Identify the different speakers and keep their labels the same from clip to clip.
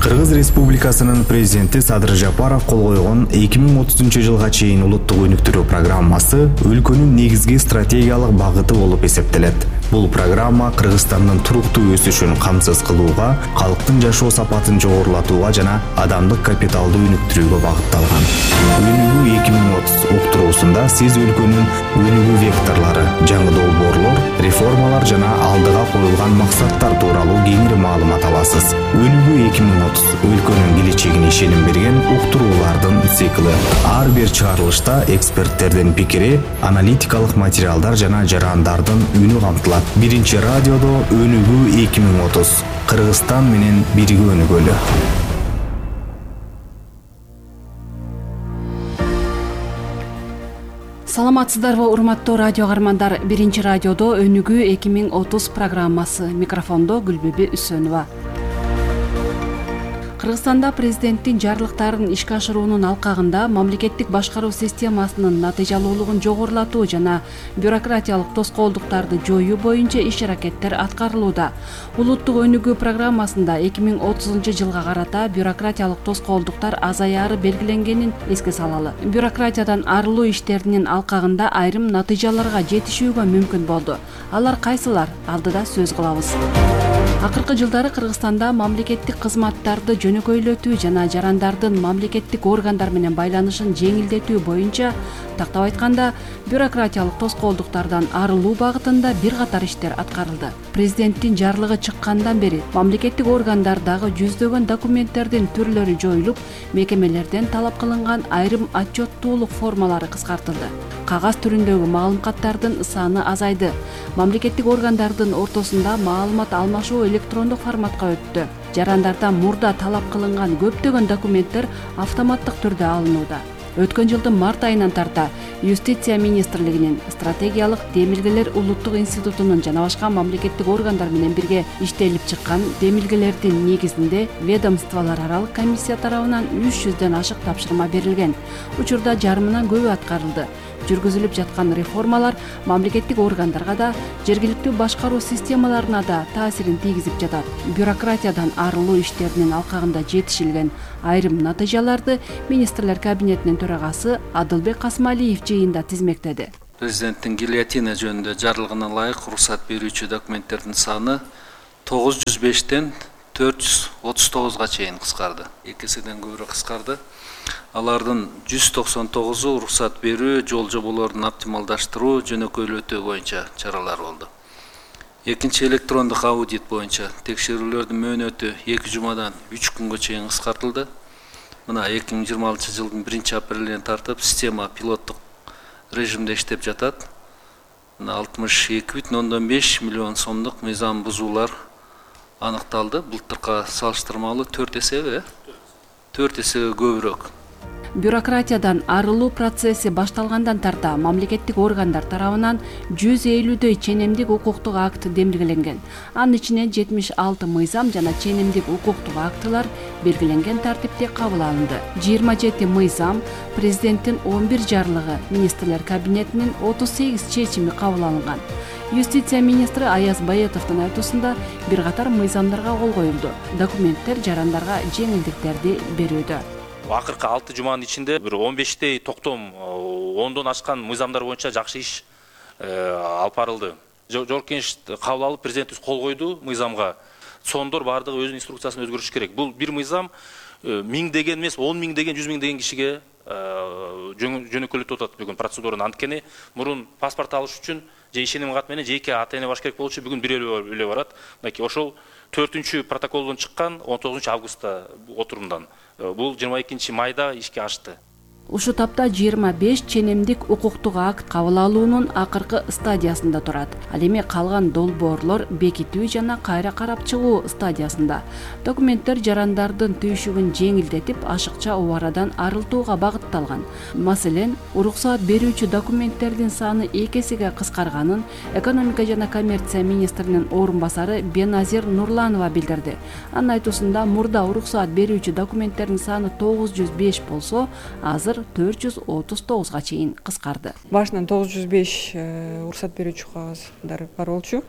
Speaker 1: Кыргыз Республикасынын президенти Садыр Жапаров кол койгон 2030 чейин улуттук өнүктүрүү программасы өлкөнүн негизги стратегиялык багыты болуп эсептелет. Бул программа Кыргызстандын туруктуу өсүшүн камсыз кылууга, калктын жашоо сапатын жогорулатууга жана адамдык капиталды өнүктүрүүгө багытталган. Өнүгүү 2030 уктуруусунда сиз өлкөнүн өнүгүү векторлору, жаңы долбоорлор, реформалар жана алдыга коюлган максаттар тууралуу кеңири маалымат аласыз. Өнүгүү 2030 өлкөнүн келечегине ишеним берген уктуруулардын цикли. Ар бир чыгарылышта эксперттердин пикири, аналитикалык материалдар жана жарандардын үнү камтылат. Биринчи радиодо Өнүгүү 2030. Кыргызстан менен бирге өнүгөлү.
Speaker 2: Саламатсыздарбы, урматтуу радио каармандар. Биринчи радиодо Өнүгүү 2030 программасы. Микрофондо Гүлбүбү Үсөнова. Кыргызстанда президенттин жарлыктарын ишке ашыруунун алкагында мамлекеттик башкаруу системасынын натыйжалуулугун жогорулатуу жана бюрократиялык тоскоолдуктарды жоюу боюнча иш-аракеттер аткарылууда. Улуттук өнүгүү программасында 2030 жылга карата бюрократиялык тоскоолдуктар азаяры белгиленгенин эске салалы. Бюрократиядан арылуу иштеринин алкагында айрым натыйжаларга жетишүүгө мүмкүн болду. Алар кайсылар? Алдыда сөз кылабыз. Акыркы жылдары Кыргызстанда мамлекеттик кызматтарды жөнөкөйлөтүү жана жарандардын мамлекеттик органдар менен байланышын жеңилдетүү боюнча, тактап айтканда, бюрократиялык тоскоолдуктардан арылуу багытында бир катар иштер аткарылды. Президенттин жарлыгы чыккандан бери мамлекеттик органдардагы жүздөгөн документтердин түрлөрү жоюлуп, мекемелерден талап кылынган айрым отчеттуулук формалары кыскартылды. Кагаз түрүндөгү маалыматтардын саны азайды. Мамлекеттик органдардын ортосунда маалымат алмашуу электрондук форматка өттү. Жарандардан мурда талап кылынган көптөгөн документтер автоматтык түрдө алынууда. Өткөн жылдын март айынан тарта Юстиция министрлигинин стратегиялык демилгелер улуттук институтунун жана башка мамлекеттик органдар менен бирге иштелип чыккан демилгелердин негизинде ведомстволор аралык комиссия тарабынан 300дөн ашык тапшырма берилген. Учурда жарымынан көбү аткарылды. Жүргүзүлүп жаткан реформалар мамлекеттик органдарга да, жергиликтүү башкаруу системаларына да таасирин тийгизип жатат. Бюрократиядан арылуу иштеринин алкагында жетишилген айрым натыйжаларды министрлер кабинетинин төрагасы Адылбек Касмалиев жыйында тизмектеди.
Speaker 3: Президенттин гильотина жөнүндө жарлыгына ылайык уруксат берүүчү документтердин саны 905ден 439га чейин кыскарды. 2 эседен көбүрөөк кыскарды. Алардын 199-у уруксат берүү, жол жоболорун оптималдаштыруу, жөнөкөйлөтүү боюнча чаралар болду. Экинчи электрондук аудит боюнча текшерүүлөрдүн мөөнөтү 2 жумадан 3 күнгө чейин кыскартылды. Мына 2026 жылдын 1-апрелинен тартып система пилоттук режимде иштеп жатат. 62,5 миллион сомдук мыйзам бузуулар аныкталды. Былтыркы салыштырмалуу 4 эсеге көбүрөөк.
Speaker 2: Бюрократиядан арылуу процесси башталгандан тарта мамлекеттик органдар тарабынан 150дөй ченемдик укуктук акт демилгеленген. Анын ичинен 76 мыйзам жана ченемдик укуктук актылар белгиленген тартипте кабыл алынды. 27 мыйзам, президенттин 11 жарлыгы, министрлер кабинетинин 38 чечими кабыл алынган. Юстиция министри Аяз Баетовдун айтуусунда бир катар мыйзамдарга кол коюлду. Документтер жарандарга жеңилдиктерди берүүдө.
Speaker 4: Акыркы 6 жуманын ичинде бир 15дей токтом 10дон ашкан мыйзамдар боюнча жакшы иш алып барылды. Жогорку кеңеш кабыл алып, президентибиз кол койду мыйзамга. Сондор бардыгы өзүнүн инструкциясын өзгөртүш керек. Бул бир мыйзам 1000 деген эмес, 10 000 деген, 100 000 деген кишиге жөнөкөйлөтүп атат бүгүн процедураны. Анткени мурун паспорт алыш үчүн же ишеним кат менен жеке ата-эне баш керек болчу, бүгүн бир эле барат. Мынакей ошол 4-протоколдон чыккан 19 августта отурумдан. Бул 22 майда ишке ашты.
Speaker 2: Ушу тапта 25 ченемдик укуктук акт кабыл алуунун акыркы стадиясында турат. Ал эми калган долбоорлор бекитүү жана кайра карап чыгуу стадиясында. Документтер жарандардын түйшүгүн жеңилдетип, ашыкча убарадан арылтууга багытталган. Маселен, уруксаат берүүчү документтердин саны 2 эсеге кыскарганын экономика жана коммерция министринин орун басары Беназир Нурланова билдирди. Анын айтуусунда мурда уруксаат берүүчү документтердин саны 905 болсо, азыр 439га чейин кыскарды.
Speaker 5: Башынан 905 уруксат берүүчү кагаздар бар болчу.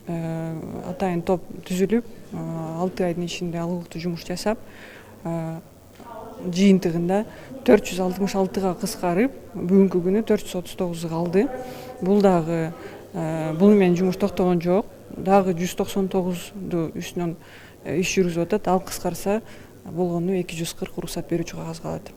Speaker 5: атайын топ түзүлүп 6 айдын ичинде алгылыктуу жумуш жасап жыйынтыгында 466 кыскарып бүгүнкү күнү 439 калды. Бул менен жумуш токтогон жок. Дагы 199 үстүнөн иш жүргүзүп атат. Ал кыскарса болгону 240 уруксат берүүчү кагаз калат.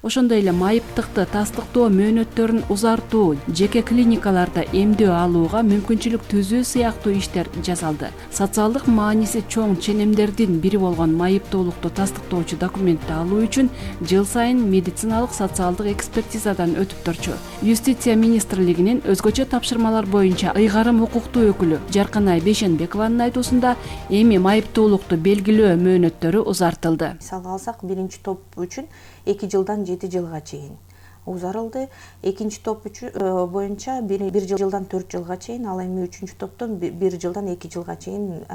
Speaker 2: Ошондой эле майыптыкты тастыктоо мөөнөттөрүн узартуу, жеке клиникаларда эмдөө алууга мүмкүнчүлүк түзүү сыяктуу иштер жасалды. Социалдык мааниси чоң ченемдердин бири болгон майыптуулукту тастыктоочу документти алуу үчүн жыл сайын медициналык социалдык экспертизадан өтүп турчу. Юстиция министрлигинин өзгөчө тапшырмалар боюнча ыйгарым укуктуу өкүлү Жарканай Бейшенбекованын айтуусунда эми майыптуулукту белгилөө мөөнөттөрү узартылды.
Speaker 6: Мисалга алсак, биринчи топ үчүн 2 жылдан 7 жылга чейин узарылды. Экинчи топ боюнча 1 жылдан 4 жылга чейин, ал эми үчүнчү топтон 1 жылдан 2 жылга чейин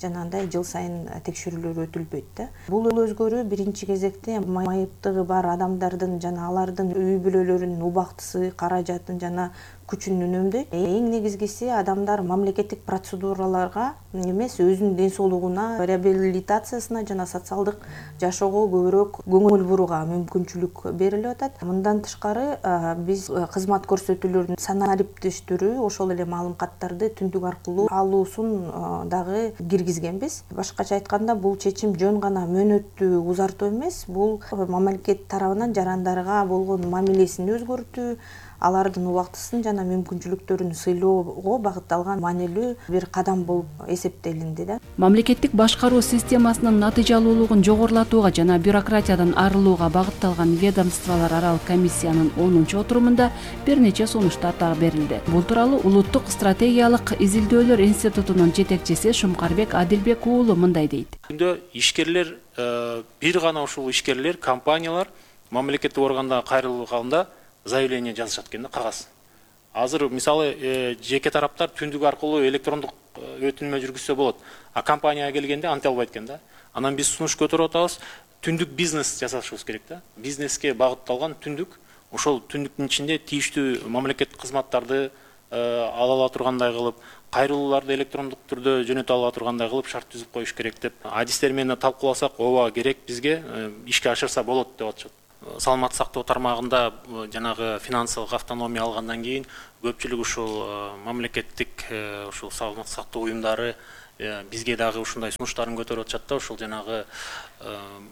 Speaker 6: жанагындай жыл сайын текшерүүлөр өтүлбөйт да. Бул өзгөрүү биринчи кезекте майыптыгы бар адамдардын жана алардын үй бүлөлөрүнүн убактысы, каражатын жана күчүн үнөмдөйт. Эң негизгиси адамдар мамлекеттик процедураларга эмес, өзүнүн ден соолугуна, реабилитациясына жана социалдык жашоого көбүрөөк көңүл бурууга мүмкүнчүлүк берилип атат. Мындан тышкары биз кызмат көрсөтүүлөрүнүн санариптештирүү, ошол эле маалым каттарды түндүк аркылуу алуусун дагы киргизгенбиз. Башкача айтканда, бул чечим жөн гана мөөнөттү узартуу эмес, бул мамлекет тарабынан жарандарга болгон мамилесин өзгөртүү, алардын убактысын жана мүмкүнчүлүктөрүн сыйлоого багытталган маанилүү бир кадам болуп эсептелинди да.
Speaker 2: Мамлекеттик башкаруу системасынын натыйжалуулугун жогорулатууга жана бюрократиядан арылууга багытталган ведомстволор аралык комиссиянын 10-отурумунда бир нече сунуштар дагы берилди. Бул тууралуу Улуттук стратегиялык изилдөөлөр институтунун жетекчиси Шумкарбек Адилбек уулу мындай дейт.
Speaker 7: Ишкерлер, бир гана ушул ишкерлер, компаниялар мамлекеттик органга кайрылганда заявление жазышат экен да, кагаз. Азыр мисалы жеке тараптар түндүк аркылуу электрондук өтүнмө жүргүзсө болот. А компанияга келгенде анте албайт экен да. Анан биз сунуш көтөрүп атабыз. Түндүк бизнес жасашыбыз керек да. Бизнеске багытталган түндүк, ошол түндүктүн ичинде тийиштүү мамлекеттик кызматтарды ала тургандай кылып, кайрылууларды электрондук түрдө жөнөтө ала тургандай кылып шарт түзүп коюш керек деп. Адистер менен талкууласак, ооба керек, бизге ишке ашырса болот деп атышат. Саламаттык сактоо тармагында жанагы финансылык автономия алгандан кийин көпчүлүк ушул мамлекеттик ушул саламаттык сактоо уюмдары бизге дагы ушундай сунуштарын көтөрүп атышат да. Ушул жанагы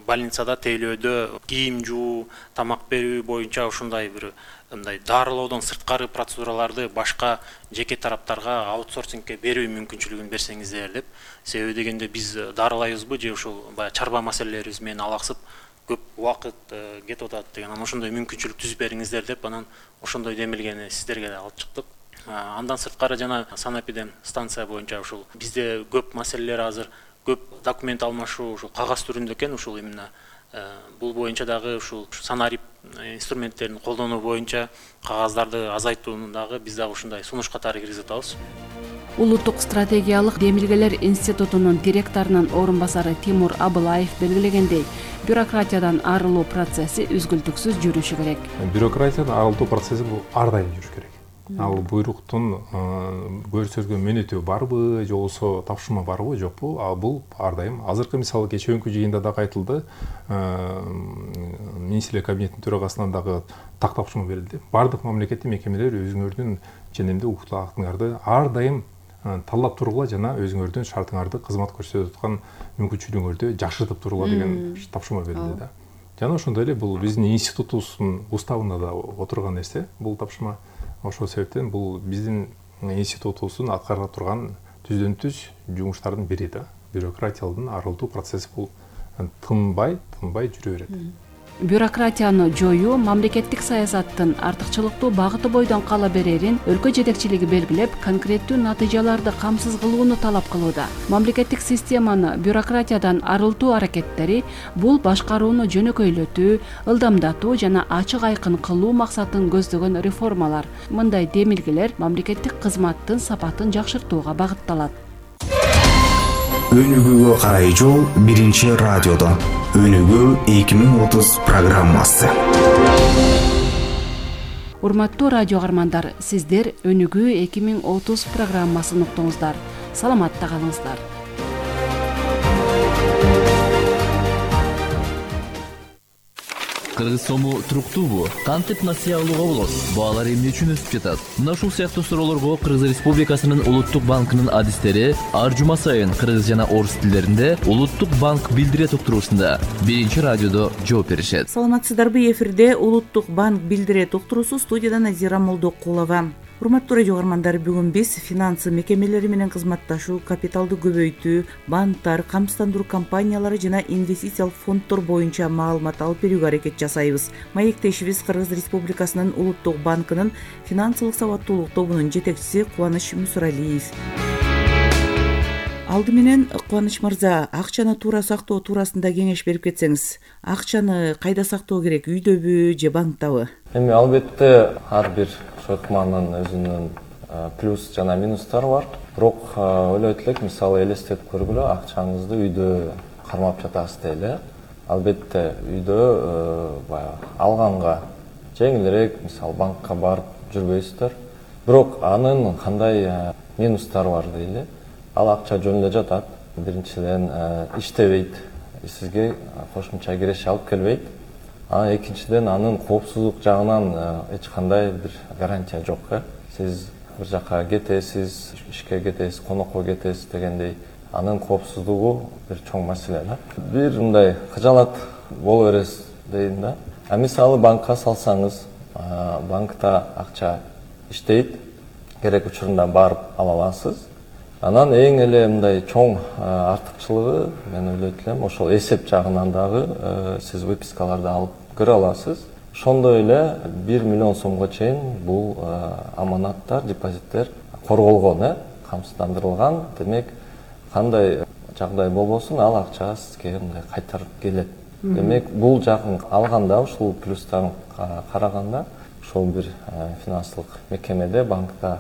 Speaker 7: больницада тейлөөдө кийим жуу, тамак берүү боюнча ушундай бир мындай дарылоодон сырткары процедураларды башка жеке тараптарга аутсорсингке берүү мүмкүнчүлүгүн берсеңиздер деп. Себеби дегенде биз дарылайбызбы же ушул баягы чарба маселелерибиз менен алаксып көп убакыт кетип атат деген, ошондой мүмкүнчүлүк түзүп бериңиздер деп, анан ошондой демилгени сиздерге алып чыктык. Андан сырткары жана санэпидем станция боюнча ушул бизде көп маселелер азыр, көп документ алмашуу ушул кагаз түрүндө экен. Ушул именно бул боюнча дагы ушул санарип инструменттерин колдонуу боюнча кагаздарды азайтууну дагы биз дагы ушундай сунуш катары киргизип атабыз.
Speaker 2: Улуттук стратегиялык демилгелер институтунун директорунун орун басары Тимур Абылаев белгилегендей, бюрократиядан арылуу процесси үзгүлтүксүз жүрүшү керек.
Speaker 8: Бюрократиядан арылуу процесси бул ар дайым жүрүш керек. Ал буйруктун көрсөтүлгөн мөөнөтү барбы, же болбосо тапшырма барбы, жокпу? Ал бул ар дайым. Азыркы мисалы кечээкү жыйында дагы айтылды, министрлер кабинетинин төрагасынан дагы так тапшырма берилди. Бардык мамлекеттик мекемелер өзүңөрдүн ченемдүү укуктук актыңарды ар дайым талап тургула жана өзүңөрдүн шартыңарды кызмат көрсөтүп аткан мүмкүнчүлүгүңөрдү жакшыртып тургула деген тапшырма берилди да. Жана ошондой эле бул биздин институтубуздун уставында да отурган нерсе, бул тапшырма. Ошол себептен бул биздин институтубуздун аткара турган түздөн түз жумуштардын бири да. Бюрократиядан арылтуу процесси бул тынбай жүрө берет.
Speaker 2: Бюрократияны жоюу мамлекеттик саясаттын артыкчылыктуу багыты бойдон кала берерин өлкө жетекчилиги белгилеп, конкреттүү натыйжаларды камсыз кылууну талап кылууда. Мамлекеттик системаны бюрократиядан арылтуу аракеттери бул башкарууну жөнөкөйлөтүү, ылдамдатуу жана ачык айкын кылуу максатын көздөгөн реформалар. Мындай демилгелер мамлекеттик кызматтын сапатын жакшыртууга багытталат.
Speaker 1: Өнүгүүгө карай жол биринчи радиодо. Өнүгүү 2030 программасы.
Speaker 2: Урматтуу радио каармандар, сиздер Өнүгүү 2030 программасын уктуңуздар. саламатта калыңыздар.
Speaker 9: Кыргыз сому туруктуубу? Кантип насыя алууга болот? Баалар эмне үчүн өсүп жатат? Мына ушул сыяктуу суроолорго Кыргыз Республикасынын Улуттук банкынын адистери ар жума сайын кыргыз жана орус тилдеринде Улуттук банк билдирет уктуруусунда биринчи радиодо жооп беришет.
Speaker 10: Саламатсыздарбы? Эфирде Улуттук банк билдирет уктуруусу, студияда Назира Молдокулова. Урматтуу радио каармандар, бүгүн биз финансы мекемелери менен кызматташуу, капиталды көбөйтүү, банктар, камсыздандыруу компаниялары жана инвестициялык фонддор боюнча маалымат алып берүүгө аракет жасайбыз. Маектешибиз Кыргыз Республикасынын Улуттук банкынын финансылык сабаттуулук тобунун жетекчиси Кубаныч Мусуралиев. Алды менен Кубаныч мырза, акчаны туура сактоо туурасында кеңеш берип кетсеңиз. Акчаны кайда сактоо керек, үйдөбү же банктабы?
Speaker 11: Эми албетте ар бир өкманын өзүнүн плюс жана минустары бар. Бирок ойлойт элек, мисалы элестетип көргүлө, акчаңызды үйдө кармап жатасыз дейли. Албетте үйдө баягы алганга жеңилирээк, мисалы банкка барып жүрбөйсүздөр. Бирок анын кандай минустары бар дейли. Ал акча жөн эле жатат. Биринчиден иштебейт, сизге кошумча киреше алып келбейт. Экинчиден анын коопсуздук жагынан эч кандай бир гарантия жок. Сиз бир жака кетесиз, ишке кетесиз, конокко кетесиз дегендей, анын коопсуздугу бир чоң маселе. Бир мындай кыжалат боло бересиз дейм да. Мисалы банкка салсаңыз, банкта акча иштейт, керек учурунда барып ала аласыз. Анан эң эле мындай чоң артыкчылыгы, мен ойлойт элем, ошол эсеп жагынан дагы сиз выпискаларды алып көрө аласыз. Ошондой эле 1 миллион сомго чейин бул аманаттар, депозиттер корголгон, камсыздандырылган. Демек, кандай жагдай болбосун, ал акча сизге мындай кайтарып келет. Демек, бул жагын алганда, ушул плюстан караганда, ошол бир финансылык мекемеде, банкта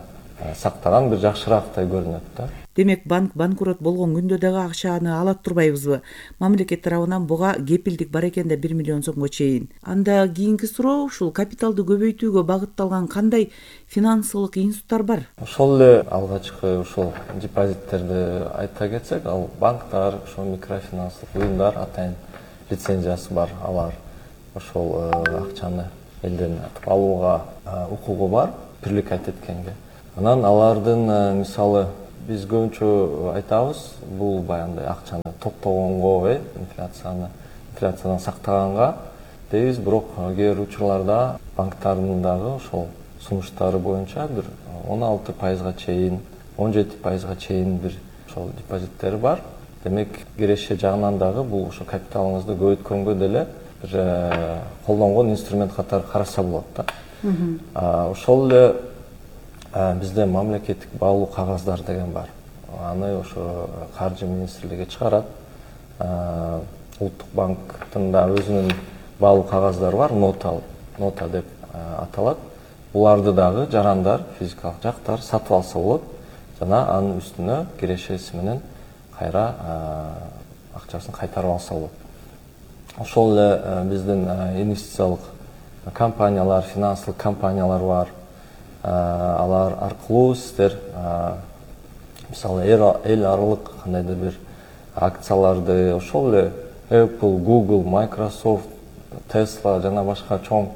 Speaker 11: сактаган бир жакшыраактай көрүнөт да.
Speaker 10: Демек, банк банкрот болгон күндө дагы акчаны алат турбайбызбы? Мамлекет тарабынан буга кепилдик бар экен да 1 миллион сомго чейин. Анда кийинки суроо, ушул капиталды көбөйтүүгө багытталган кандай финансылык институттар бар?
Speaker 11: Ошол эле алгачкы ушул депозиттерди айта кетсек, ал банктар, ошол микрофинансылык уюмдар атайын лицензиясы бар, алар ошол акчаны элден алууга укугу бар, привлекать эткенге. Анан алардын мисалы биз көбүнчө айтабыз, бул баягындай акчаны токтогонго, инфляциядан сактаганга дейбиз, бирок кээ бир учурларда банктардын дагы ошол сунуштары боюнча бир 16% чейин, 17% чейин бир ошол депозиттери бар. Демек, киреше жагынан дагы бул ошо капиталыңызды көбөйткөнгө деле бир колдонгон инструмент катары караса болот да. Ошол эле бизде мамлекеттик баалуу кагаздар деген бар. Аны ошо каржы министрлиги чыгарат. Улуттук банктын да өзүнүн баалуу кагаздары бар, нота деп аталат. Буларды дагы жарандар, физикалык жактар сатып алса болот жана анын үстүнө кирешеси менен кайра акчасын кайтарып алса болот. Ошол эле биздин инвестициялык компаниялар, финансылык компаниялар бар. Алар аркылуу сиздер мисалы эл аралык кандайдыр бир акцияларды, ошол эле Apple, Google, Microsoft, Tesla жана башка чоң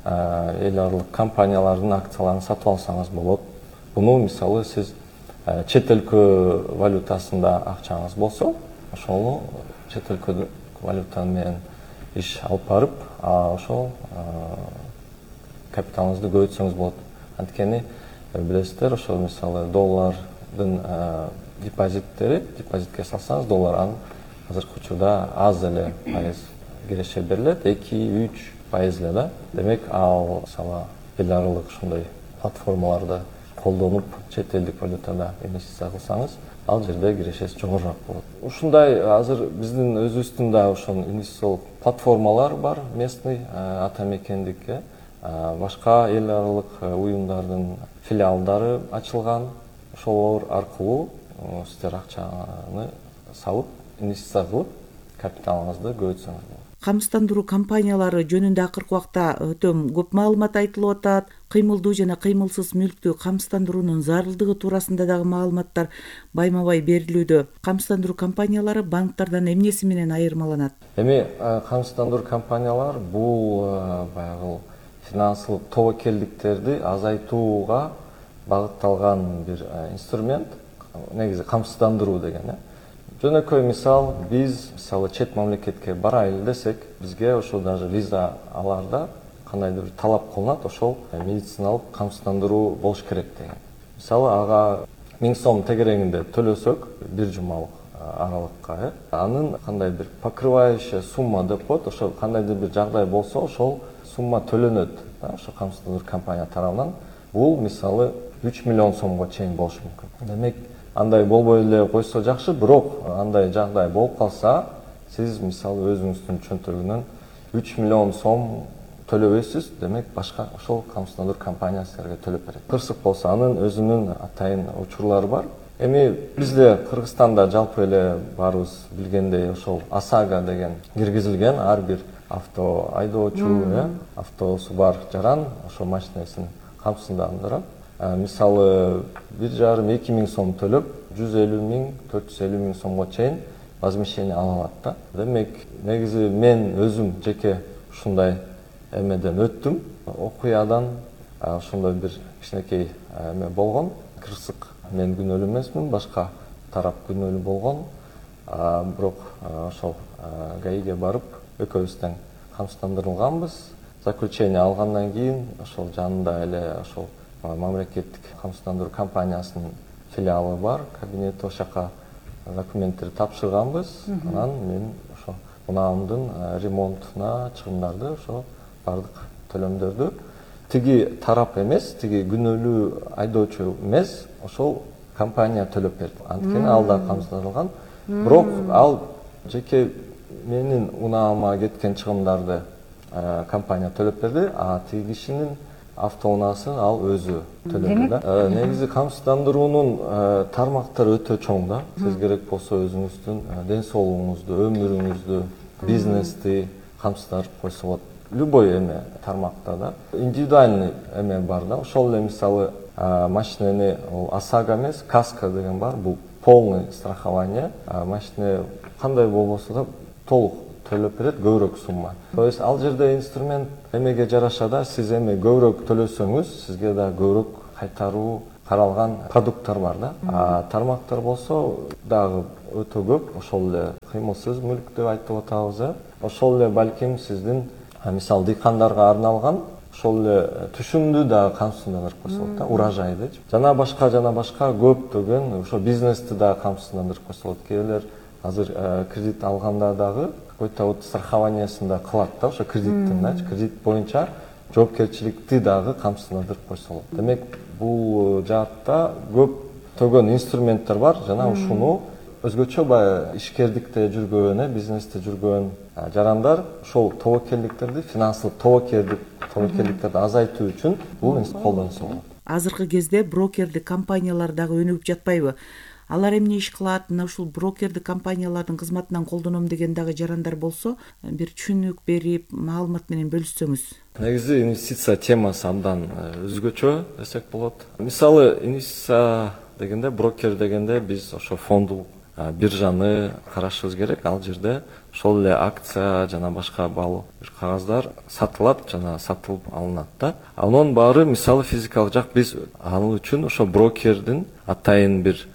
Speaker 11: эл аралык компаниялардын акцияларын сатып алсаңыз болот. Буну мисалы сиз чет өлкө валютасында акчаңыз болсо, ошону чет өлкө валюта менен иш алып барып, ошол капиталыңызды көбөйтсөңүз болот. Анткени билесиздер, ошол мисалы доллардын депозитке салсаңыз, доллар анын азыркы учурда аз эле пайыз киреше берилет, 2-3% эле да. Демек, ал мисалы эл аралык ушундай платформаларда колдонуп, чет элдик валютада инвестиция кылсаңыз, ал жерде кирешеси жогорураак болот. Ушундай азыр биздин өзүбүздүн да ошол инвестициялык платформалар бар, местный, ата мекендик, башка эл аралык уюмдардын филиалдары ачылган. Ошолор аркылуу сиздер акчаны салып, инвестиция кылып, капиталыңызды көбөйтсөңүз болот.
Speaker 10: камсыздандыруу компаниялары жөнүндө акыркы убакта өтө көп маалымат айтылып атат. Кыймылдуу жана кыймылсыз мүлктү камсыздандыруунун зарылдыгы туурасында дагы маалыматтар байма-бай берилүүдө. Камсыздандыруу компаниялары банктардан эмнеси менен айырмаланат?
Speaker 11: Эми камсыздандыруу компаниялар бул баягы финансылык тобокелдиктерди азайтууга багытталган бир инструмент. Негизи камсыздандыруу деген. Жөнөкөй мисал, биз мисалы чет мамлекетке барайлы десек, бизге ошо даже виза аларда кандайдыр бир талап кылынат, ошол медициналык камсыздандыруу болуш керек деген. Мисалы ага 1000 сом тегерегинде төлөсөк, бир жумалык аралыкка, анын кандай бир покрывающая сумма деп коет, ошо кандайдыр бир жагдай болсо, ошол сумма төлөнөт, ошо камсыздандыруу компания тарабынан. Бул мисалы 3 миллион сомго чейин болушу мүмкүн. Демек, андай болбой эле койсо жакшы, бирок андай жагдай болуп калса, сиз мисалы өзүңүздүн чөнтөгүнөн 3 миллион сом төлөбөйсүз, демек башка ошол камсыздандыруу компаниясы силерге төлөп берет. Кырсык болсо анын өзүнүн атайын учурлары бар. Эми бизде Кыргызстанда жалпы эле баарыбыз билгендей ошол ОСАГО деген киргизилген, ар бир авто айдоочу, автосу бар жаран ошол машинесин камсыздандырат. Мисалы 1,5-2 миң сом төлөп, 150 миң, 450 миң сомго чейин возмещение ала алат да. Демек, негизи мен өзүм жеке ушундай эмеден өттүм. Окуядан ошондой бир кичинекей эме болгон. Кырсык мен күнөөлүү эмесмин, башка тарап күнөөлүү болгон. Бирок ошол ГАИге барып, экөөбүз тең камсыздандырылганбыз. Заключение алгандан кийин ошол жанында эле ошол мамлекеттик камсыздандыруу компаниясынын филиалы бар, кабинети, ошол жака документтерди тапшырганбыз. Анан мен ошо унаамдын ремонтуна чыгымдарды, ошо бардык төлөмдөрдү тиги тарап эмес, тиги күнөөлүү айдоочу эмес, ошол компания төлөп берди. Анткени ал да камсыздандырылган. Бирок ал жеке менин унаама кеткен чыгымдарды компания төлөп берди, а тиги кишинин автоунаасын ал өзү төлөдү да. Негизи камсыздандыруунун тармактары өтө чоң да. Сиз керек болсо өзүңүздүн ден соолугуңузду, өмүрүңүздү, бизнести камсыздандырып койсо болот. Любой эме тармакта да. Индивидуальный эме бар да. Ошол эле мисалы машинени ОСАГО эмес, КАСКО деген бар. Бул полный страхование. Машина кандай болбосо да толук төлөп берет, көбүрөөк сумма. То есть ал жерде инструмент эмеге жараша да, сиз эми көбүрөөк төлөсөңүз, сизге да көбүрөөк кайтаруу каралган продукттар бар да. Тармактар болсо дагы өтө көп. Ошол эле кыймылсыз мүлк деп айтып атабыз. Ошол эле балким сиздин мисал дыйкандарга арналган ошол эле түшүмдү дагы камсыздандырып койсо болот да, урожайды. Жана башка көптөгөн ошо бизнести дагы камсыздандырып койсо болот. Кээ азыр кредит алганда дагы какой-то вот страхованиясында кылат да, ошо кредиттин, кредит боюнча жоопкерчиликти дагы камсыздандырып койсо болот. Демек, бул жаатта көптөгөн инструменттер бар, жана ушуну өзгөчө баягы ишкердикте жүргөн, бизнесте жүргөн жарандар ошол тобокелдиктерди, финансылык тобокелдиктерди азайтуу үчүн бул колдонсо болот.
Speaker 10: Азыркы кезде брокердик компаниялар дагы өнүгүп жатпайбы? Алар эмне иш кылат? Мына ушул брокердик компаниялардын кызматынан колдоном деген дагы жарандар болсо, бир түшүнүк берип, маалымат менен бөлүшсөңүз.
Speaker 11: Негизи инвестиция темасы абдан өзгөчө десек болот. Мисалы, инвестиция дегенде, брокер дегенде биз ошо фондулук биржаны карашыбыз керек. Ал жерде ошол эле акция жана башка баалуу бир кагаздар сатылат жана сатылып алынат да. Анын баары мисалы физикалык жак, биз ал үчүн ошо брокердин атайын бир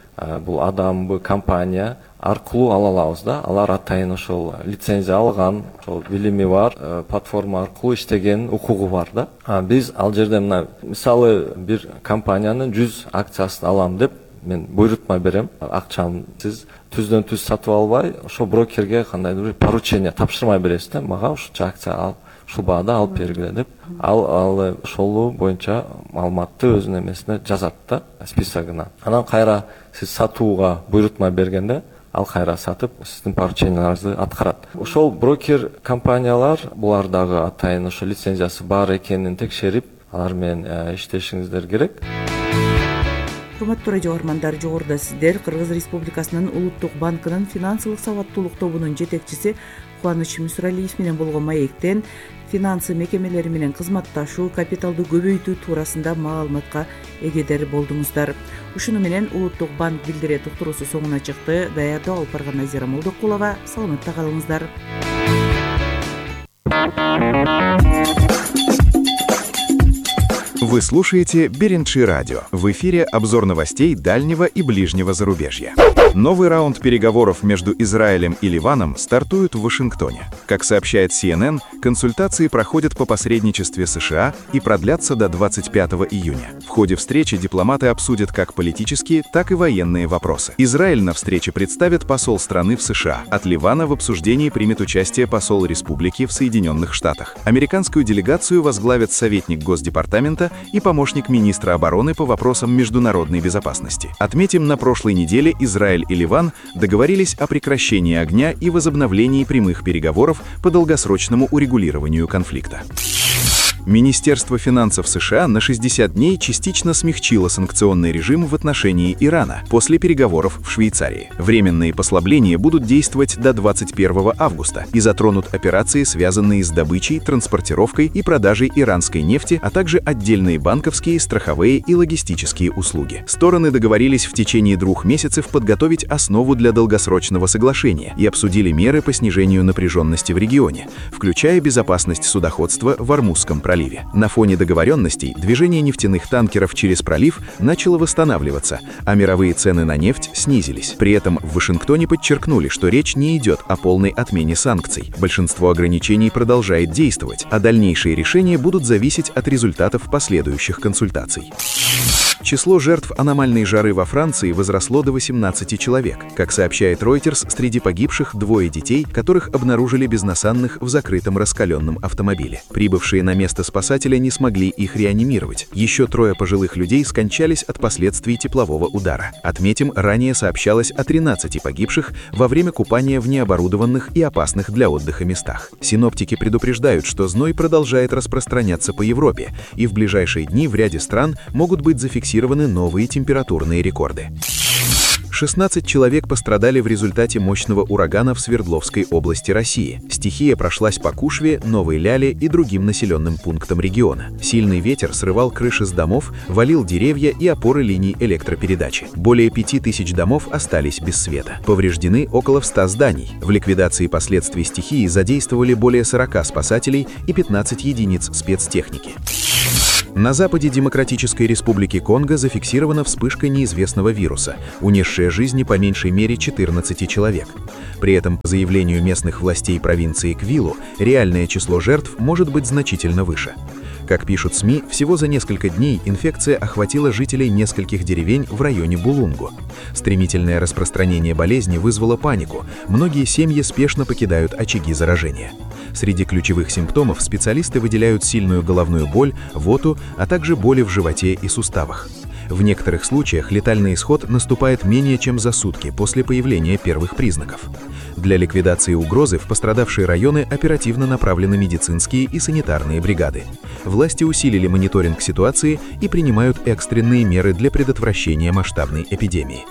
Speaker 11: бул адамбы компания аркылуу ала алабыз да. Алар атайын ошол лицензия алган, ошол билими бар, платформа аркылуу иштеген укугу бар да. Биз ал жерде мына мисалы бир компаниянын 100 акциясын алам деп мен буйрутма берем. Акчаны сиз түздөн түз сатып албай, ошо брокерге кандайдыр бир поручение тапшырмай бересиз да. Мага ушунча акция ал, ушул баада алып бергиле деп. Ал ошол боюнча маалыматты өзүнүн эмесине жазат да, списогуна. Анан кайра сиз сатууга буйрутма бергенде, ал кайра сатып, сиздин порученияларыңызды аткарат. Ошол брокер компаниялар булар дагы атайын ошо лицензиясы бар экенин текшерип, алар менен иштешиңиздер керек.
Speaker 10: Урматтуу радио угармандар, жогоруда сиздер Кыргыз Республикасынын Улуттук банкынын финансылык сабаттуулук тобунун жетекчиси Кубаныч Мусуралиев менен болгон маектен финансы мекемелери менен кызматташуу, капиталды көбөйтүү туурасында маалыматка эгедер болдуңуздар. Ушуну менен Улуттук банк билдире токтуруусу соңуна чыкты. Даярдоо алып барган Назира Молдокулова. Саламатта калыңыздар.
Speaker 12: Вы слушаете Берендши радио. В эфире обзор новостей дальнего и ближнего зарубежья. Новый раунд переговоров между Израилем и Ливаном стартует в Вашингтоне. Как сообщает CNN, консультации проходят по посредничестве США и продлятся до 25 июня. В ходе встречи дипломаты обсудят как политические, так и военные вопросы. Израиль на встрече представит посол страны в США. От Ливана в обсуждении примет участие посол республики в Соединенных Штатах. Американскую делегацию возглавят советник Госдепартамента и помощник министра обороны по вопросам международной безопасности. Отметим, на прошлой неделе Израиль и Ливан договорились о прекращении огня и возобновлении прямых переговоров по долгосрочному урегулированию конфликта. Министерство финансов США на 60 дней частично смягчило санкционный режим в отношении Ирана после переговоров в Швейцарии. Временные послабления будут действовать до 21 августа и затронут операции, связанные с добычей, транспортировкой и продажей иранской нефти, а также отдельные банковские, страховые и логистические услуги. Стороны договорились в течение 2 месяцев подготовить основу для долгосрочного соглашения и обсудили меры по снижению напряженности в регионе, включая безопасность судоходства в Ормузском проливе. На фоне договоренностей движение нефтяных танкеров через пролив начало восстанавливаться, а мировые цены на нефть снизились. При этом в Вашингтоне подчеркнули, что речь не идет о полной отмене санкций. Большинство ограничений продолжает действовать, а дальнейшие решения будут зависеть от результатов последующих консультаций. Число жертв аномальной жары во Франции возросло до 18 человек. Как сообщает Reuters, среди погибших 2 детей, которых обнаружили безнасанных в закрытом раскаленном автомобиле. Прибывшие на место спасатели не смогли их реанимировать. Еще 3 пожилых людей скончались от последствий теплового удара. Отметим, ранее сообщалось о 13 погибших во время купания в необорудованных и опасных для отдыха местах. Синоптики предупреждают, что зной продолжает распространяться по Европе, и в ближайшие дни в ряде стран могут быть зафиксированы новые температурные рекорды. 16 человек пострадали в результате мощного урагана в Свердловской области России. Стихия прошлась по Кушве, Новой Ляле и другим населенным пунктам региона. Сильный ветер срывал крыши с домов, валил деревья и опоры линий электропередачи. Более 5000 домов остались без света. Повреждены около 100 зданий. В ликвидации последствий стихии задействовали более 40 спасателей и 15 единиц спецтехники. На западе Демократической Республики Конго зафиксирована вспышка неизвестного вируса, унесшая жизни по меньшей мере 14 человек. При этом, по заявлению местных властей провинции Квилу, реальное число жертв может быть значительно выше. Как пишут СМИ, всего за несколько дней инфекция охватила жителей нескольких деревень в районе Булунгу. Стремительное распространение болезни вызвало панику. Многие семьи спешно покидают очаги заражения. Среди ключевых симптомов специалисты выделяют сильную головную боль, рвоту, а также боли в животе и суставах. В некоторых случаях летальный исход наступает менее чем за сутки после появления первых признаков. Для ликвидации угрозы в пострадавшие районы оперативно направлены медицинские и санитарные бригады. Власти усилили мониторинг ситуации и принимают экстренные меры для предотвращения масштабной эпидемии.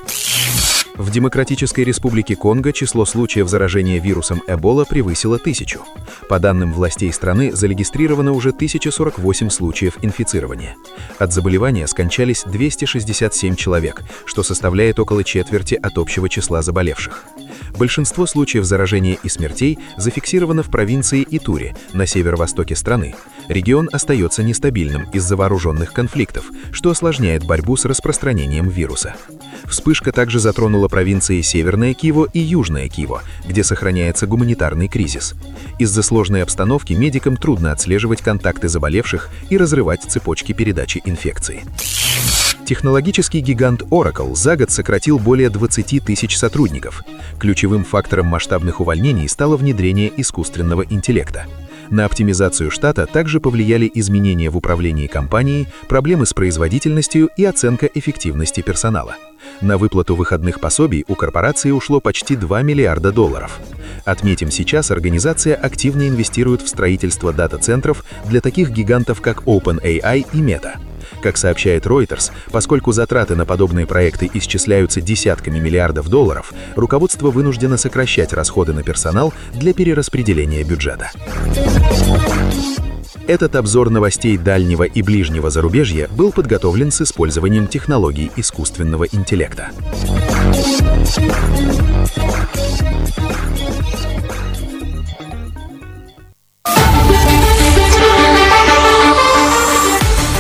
Speaker 12: В Демократической Республике Конго число случаев заражения вирусом Эбола превысило 1000. По данным властей страны, зарегистрировано уже 1048 случаев инфицирования. От заболевания скончались 267 человек, что составляет около четверти от общего числа заболевших. Большинство случаев заражения и смертей зафиксировано в провинции Итури, на северо-востоке страны. Регион остается нестабильным из-за вооруженных конфликтов, что осложняет борьбу с распространением вируса. Вспышка также затронула провинции Северное Киво и Южное Киво, где сохраняется гуманитарный кризис. Из-за сложной обстановки медикам трудно отслеживать контакты заболевших и разрывать цепочки передачи инфекции. Технологический гигант Oracle за год сократил более 20 тысяч сотрудников. Ключевым фактором масштабных увольнений стало внедрение искусственного интеллекта. На оптимизацию штата также повлияли изменения в управлении компанией, проблемы с производительностью и оценка эффективности персонала. На выплату выходных пособий у корпорации ушло почти $2 миллиарда. Отметим, сейчас организация активно инвестирует в строительство дата-центров для таких гигантов, как OpenAI и Meta. Как сообщает Reuters, поскольку затраты на подобные проекты исчисляются десятками миллиардов долларов, руководство вынуждено сокращать расходы на персонал для перераспределения бюджета. Этот обзор новостей дальнего и ближнего зарубежья был подготовлен с использованием технологий искусственного интеллекта.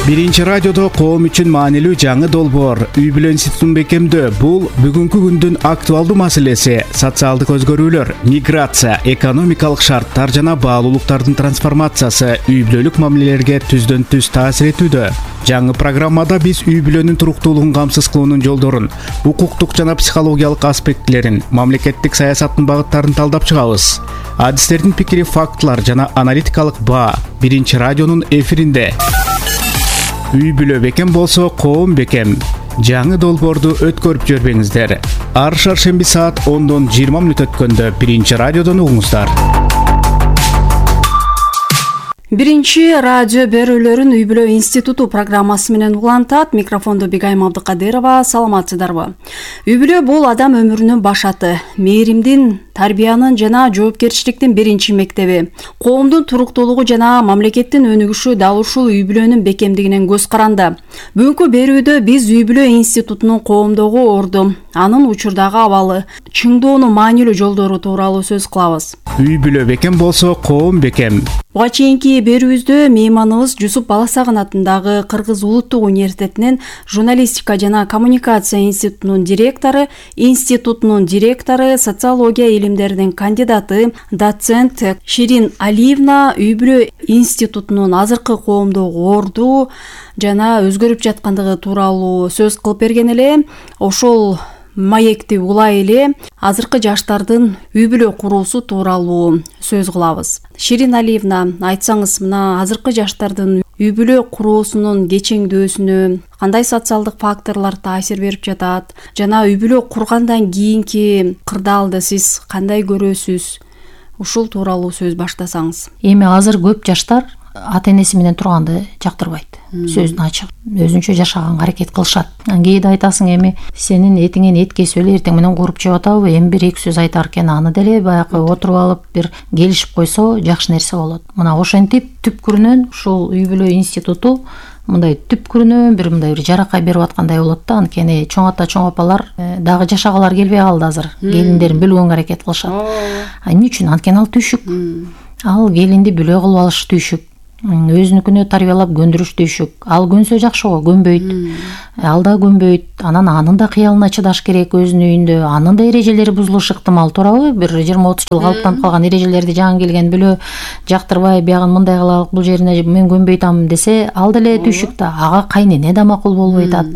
Speaker 13: Биринчи радиодо коом үчүн маанилүү жаңы долбоор үй бүлө институтун бекемдөө. Бул бүгүнкү күндүн актуалдуу маселеси. Социалдык өзгөрүүлөр, миграция, экономикалык шарттар жана баалуулуктардын трансформациясы үй бүлөлүк мамилелерге түздөн түз таасир этүүдө. Жаңы программада биз үй бүлөнүн туруктуулугун камсыз кылуунун жолдорун, укуктук жана психологиялык аспектилерин, мамлекеттик саясаттын багыттарын талдап чыгабыз. Адистердин пикири, фактылар жана аналитикалык баа биринчи радионун эфиринде. Үй бүлө бекем болсо коом бекем. Жаңы долбоорду өткөрүп жүрбөңүздөр. Ар шаршемби саат 10:20 өткөндө биринчи радиодон угуңуздар.
Speaker 2: Биринчи радио берүүлөрүн үй бүлө институту программасы менен улантат. Микрофондо Бигайым Абдыкадырова. Саламатсыздарбы? Үй бүлө бул адам өмүрүнүн башаты, мээримдин, тарбиянын жана жоопкерчиликтин биринчи мектеби. Коомдун туруктуулугу жана мамлекеттин өнүгүшү дал ушул үй бүлөнүн бекемдигинен көз каранды. Бүгүнкү берүүдө биз үй бүлө институтунун коомдогу орду, анын учурдагы абалы, чыңдоонун маанилүү жолдору тууралуу сөз кылабыз.
Speaker 13: Үй бүлө бекем болсо коом бекем.
Speaker 2: Буга чейинки берүүбүздө мейманыбыз Жусуп Баласагын атындагы Кыргыз Улуттук университетинин журналистика жана коммуникация институтунун директору, социология илимдеринин кандидаты, доцент Ширин Алиевна үй бүлө институтунун азыркы коомдогу орду жана өзгөрүп жаткандыгы тууралуу сөз кылып берген эле. Ошол маекти улай эле азыркы жаштардын үй бүлө куруусу тууралуу сөз кылабыз. Ширин Алиевна, айтсаңыз, мына азыркы жаштардын үй бүлө куруусунун кечеңдөөсүнө кандай социалдык факторлор таасир берип жатат жана үй бүлө кургандан кийинки кырдаалды сиз кандай көрөсүз? Ушул тууралуу сөз баштасаңыз.
Speaker 14: Эми азыр көп жаштар ата энеси менен турганды жактырбайт. Сөздүн ачык, өзүнчө жашаганга аракет кылышат. Кээде айтасың, эми сенин этиңен эт кесип эле эртең менен кууруп жеп атабы, эми бир эки сөз айтар экен, аны деле баягы отуруп алып бир келишип койсо жакшы нерсе болот. Мына ошентип түпкүрүнөн ушул үй бүлө институту мындай түпкүрүнөн бир мындай бир жаракай берип аткандай болот да. Анткени чоң ата, чоң апалар дагы жашагалар келбей калды азыр. Келиндерин бөлгөнгө аракет кылышат. Эмне үчүн? Анткени ал түйшүк. Ал келинди бүлө кылып алыш түйшүк. Өзүнүкүнө тарбиялап көндүрүш түйшүк. Ал көнсө жакшы го, көнбөйт. Ал да көнбөйт. Анын да кыялына чыдаш керек өзүнүн үйүндө. Анын да эрежелери бузулушу ыктымал, туурабы? Бир 20-30 жыл калыптанып калган эрежелерди жаңы келген бүлө жактырбай, биягын мындай кылалык, бул жерине мен көнбөйтам десе, ал деле түйшүк да. Ага кайнене да макул болбой атат.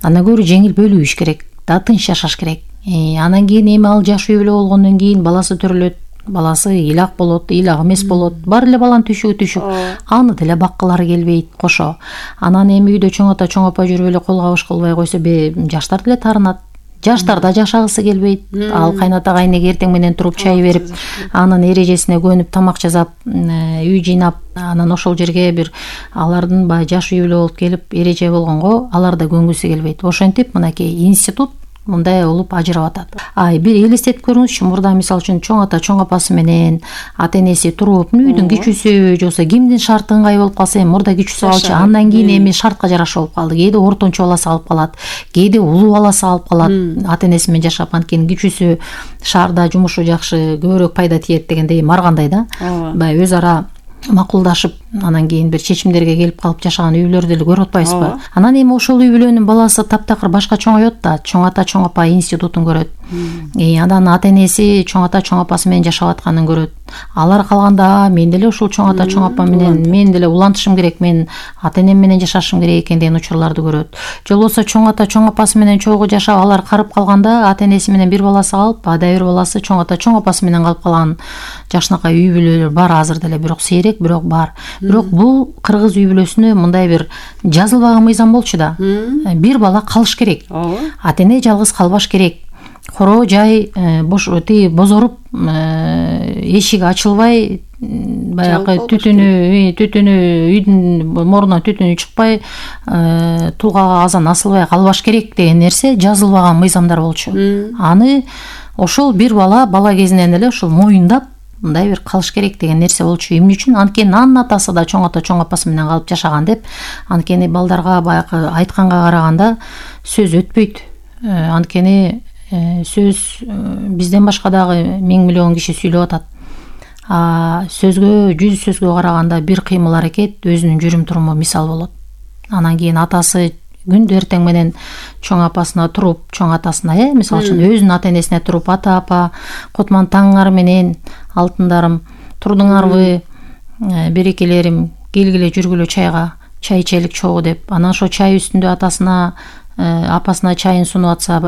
Speaker 14: Андан көрө жеңил бөлүш керек, да тынч жашаш керек. Анан кийин эми ал жаш үй бүлө болгондон кийин баласы төрөлөт. Баласы ыйлак болот, ыйлак эмес болот. Бар эле баланын түйшүгү түйшүк. Аны деле баккылары келбейт кошо. Анан эми үйдө чоң ата, чоң апа жүрүп эле кол кабыш кылбай койсо, жаштар деле таарынат. Жаштар да жашагысы келбейт. Ал кайната кайнеге эртең менен туруп чай берип, анын эрежесине көнүп, тамак жасап, үй жыйнап, анан ошол жерге бир алардын баягы жаш үй бүлө болуп келип эреже болгонго алар да көнгүсү келбейт. Ошентип мынакей институт мындай болуп ажырап атат. Бир элестетип көрүңүзчү, мурда мисалы үчүн чоң ата, чоң апасы менен ата энеси туруп, үйдүн кичүүсү жоксо кимдин шарты ыңгай болуп калса, эми мурда кичүүсү алчы, андан кийин эми шартка жараша болуп калды. Кээде ортончу баласы алып калат, кээде улуу баласы алып калат, ата энеси менен жашап, анткени кичүүсү шаарда жумушу жакшы, көбүрөөк пайда тиет дегендей маргандай да. Баягы өз ара макулдашып, анан кийин бир чечимдерге келип калып жашаган үй бүлөрдү деле көрүп атпайсызбы? Анан эми ошол үй бүлөнүн баласы таптакыр башка чоңойот да, чоң ата, чоң апа институтун көрөт. Анан ата энеси чоң ата, чоң апасы менен жашап атканын көрөт. Алар калганда мен деле ушул чоң ата, чоң апа менен мен деле улантышым керек, мен ата энем менен жашашым керек экен деген учурларды көрөт. Же болбосо чоң ата, чоң апасы менен чогуу жашап, алар карып калганда ата энеси менен бир баласы калып, ада бир баласы чоң ата, чоң апасы менен калып калган жакшынакай үй бүлөлөр бар азыр деле, бирок сейрек, бирок бар. Бирок бул кыргыз үй бүлөсүнө мындай бир жазылбаган мыйзам болчу да. Бир бала калыш керек. Ата эне жалгыз калбаш керек. Коро жай бозоруп, эшиги ачылбай баягы түтүнү үйдүн морунан түтүнү чыкпай, тулгага азан асылбай калбаш керек деген нерсе жазылбаган мыйзамдар болчу. Аны ошол бир бала кезинен эле ошол моюндап мындай бир калыш керек деген нерсе болчу. Эмне үчүн? Анткени анын атасы да чоң ата чоң апасы менен калып жашаган деп. Анткени балдарга баягы айтканга караганда сөз өтпөйт. Анткени сөз бизден башка дагы 1000 миллион киши сүйлөп атат. Сөзгө, жүз сөзгө караганда бир кыймыл аракет өзүнүн жүрүм туруму мисал болот. Анан кийин атасы күндө эртең менен чоң апасына туруп, чоң атасына, мисалы үчүн өзүнүн ата энесине туруп, ата апа, котман таңыңар менен, алтындарым, турдуңарбы, берекелерим, келгиле жүргүлө чайга, чай ичелик чогуу деп. Анан ошо чай үстүндө атасына, апасына чайын сунуп атса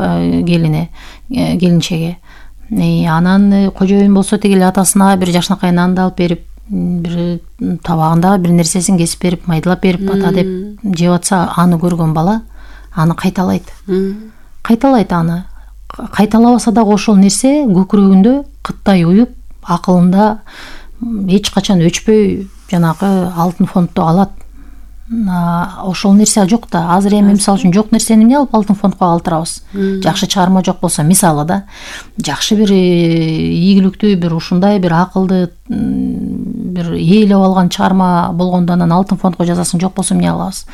Speaker 14: келинчеге. Анан кожоюн болсо тигил атасына бир жакшынакай нанды алып берип, бир табагында бир нерсесин кесип берип, майдалап берип, ата деп жеп атса, аны көргөн бала аны кайталайт. Аны кайталабаса дагы ошол нерсе көкүрөгүндө кыттай уюп, акылында эч качан өчпөй жанагы алтын фонддо калат. Ошол нерсе жок да. Азыр эми мисалы үчүн жок нерсени эмне алып алтын фондко калтырабыз? Жакшы чыгарма жок болсо, мисалы да, жакшы бир ийгиликтүү, бир ушундай бир акылды, бир ээлеп алган чыгарма болгондо анан алтын фондко жазасың, жок болсо эмне кылабыз?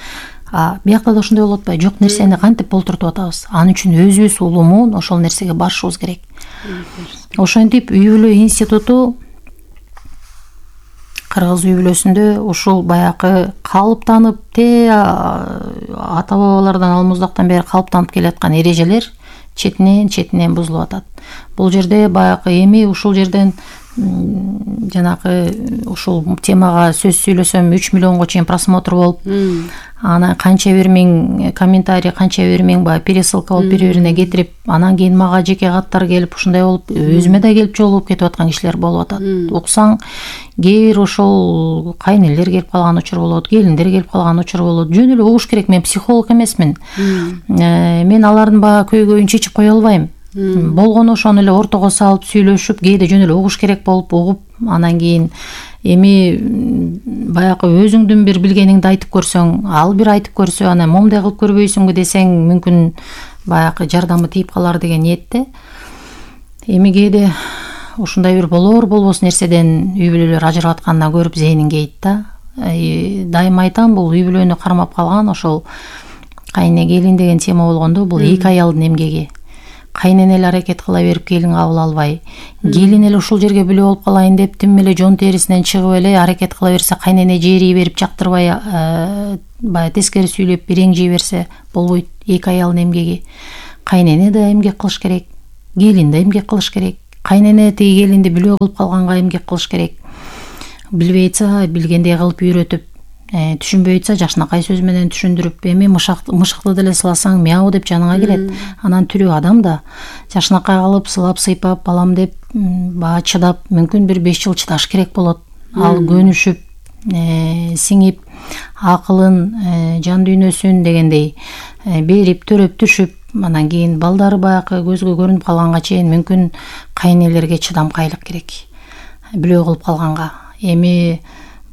Speaker 14: Биякта да ошондой болуп атпайбы? Жок нерсени кантип болтуртуп атабыз? Анын үчүн өзүбүз улумун ошол нерсеге барышыбыз керек. Ошентип үй бүлө институту кыргыз үй бүлөсүндө ушул баягы калыптанып, ата бабалардан алмуздактан бери калыптанып келаткан эрежелер четинен бузулуп атат. Бул жерде баягы эми ушул жерден жанагы ушул темага сөз сүйлөсөм 3 миллионго чейин просмотр болуп, анан канча бир миң комментарий, канча бир миң баягы пересылка болуп бири-бирине кетирип, анан кийин мага жеке каттар келип, ушундай болуп, өзүмө да келип жолугуп кетип аткан кишилер болуп атат. Уксаң, кээ бир ошол кайнелер келип калган учур болот, келиндер келип калган учур болот. Жөн эле угуш керек. Мен психолог эмесмин. Мен алардын баягы көйгөйүн чечип кое албайм. Болгону ошону эле ортого салып сүйлөшүп, кээде жөн эле угуш керек болуп угуп, анан кийин эми баягы өзүңдүн бир билгениңди айтып көрсөң, ал бир айтып көрсө, анан момундай кылып көрбөйсүңбү десең, мүмкүн баягы жардамы тийип калар деген ниетте. Эми кээде ушундай бир болбос нерседен үй бүлөлөр ажырап атканына көрүп зээнин кейит да. Дайыма айтам, бул үй бүлөнү кармап калган ошол кайне келин деген тема болгондо, бул эки аялдын эмгеги. Кайнен эле аракет кыла берип келин кабыл албай, келин эле ушул жерге бүлө болуп калайын деп тим эле жон терисинен чыгып эле аракет кыла берсе, кайнене жээрий берип жактырбай, баягы тескери сүйлөп иреңжей берсе болбойт. Эки аялдын эмгеги. Кайнене да эмгек кылыш керек, келин да эмгек кылыш керек. Кайнене тиги келинди бүлө кылып калганга эмгек кылыш керек. Билбей атса, билгендей кылып үйрөтүп, түшүнбөй атса жакшынакай сөз менен түшүндүрүп, эми мышыкты деле сыласаң мяу деп жаныңа келет. Анан тирүү адам да жакшынакай кылып сылап сыйпап балам деп баа чыдап, мүмкүн бир 5 жыл чыдаш керек болот. Ал көнүшүп, сиңип, акылын, жан дүйнөсүн дегендей берип, төрөп, түшүп, анан кийин балдары баягы көзгө көрүнүп калганга чейин мүмкүн кайнелерге чыдамкайлык керек. Бүлө кылып калганга. Эми